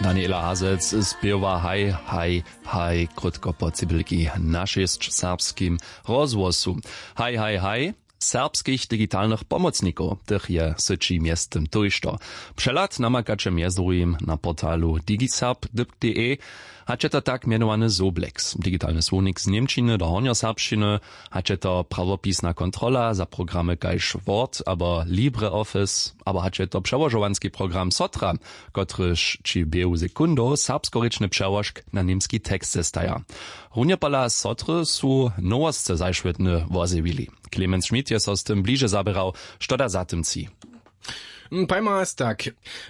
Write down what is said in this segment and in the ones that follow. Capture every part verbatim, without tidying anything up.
Daniela Hazec spěwa haj haj haj krótko po cybylki na šěsć serbskim rozhłosu. Haj haj haj serbskich digitalnych pomocnikow, tych je w syći mjeztym tójšto. Přehlad namakaće mjez druhim na portalu digiserb dypk d e. Hač je to tak mjenowany sobleks, digitalny słownik z němčiny do hornjoserbšćiny, hač je to prawopisna kontrola za programy kaž word abo libreoffice, abo hač je to přełožowanski program sotra, kotryž ći w běhu sekundow serbskorěčny přełožk na němski tekst zestaja. Runje pola sotry su nowosće zašwětny wozjewili. Clemens Schmidt je so z tym bliže zaběrał. Što da za tym tři? Pajma raz tak.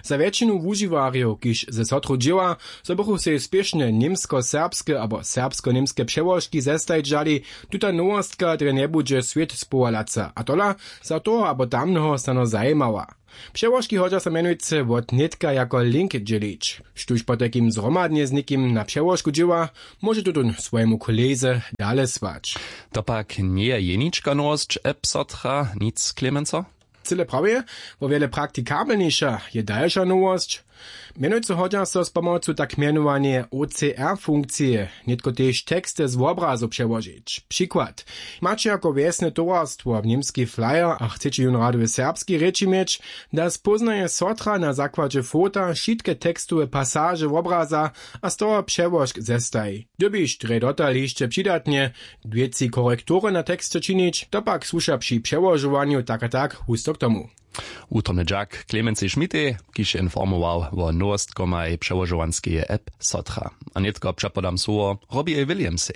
Za wjetšinu wužiwarjow, kiž ze sotru dźěła, zo bychu sej spěšnje němsko-serbske abo serbsko-němske přełožki zestajić dali, tuta nowostka drje njebudźe swět spowalaca a tola za toho abo tamneho stano zajimała. Přełožki hodźa so mjenujcy wot nětka jako link dźělić. Štóž potajkim zhromadnje z někim na přełožku dźěła, móže tutón swojemu kolejze dale słać. To pak njeje jenička nowosć app sotra nic klemenco? Cyle prawje. Wo wjele praktikabelniša je dalša nowosć. Mjenujcy hodźa so z pomocu tak mjenowaneje ocr funkcije nětko tež teksty z wobrazow přełožić. Přikład: maće jako wjesne towarstwo w němski flyer a chceće jón rady w serbskej rěči měć, da spóznaje sotra na zakładźe fota wšitke tekstowe pasaže wobraza a z toho přełožk zestaji. Dyrbiš drje dotal hišće přidatnje dwěci korektury na teksće činić, to pak słuša při přełožowanju tak a tak husto k tomu. Wutrobny dźak klemencej schmidtej, kiž je informował wo nowostkomaj přełožowanskeje app sotra. A nětko přepodam słowo robbie williamsej.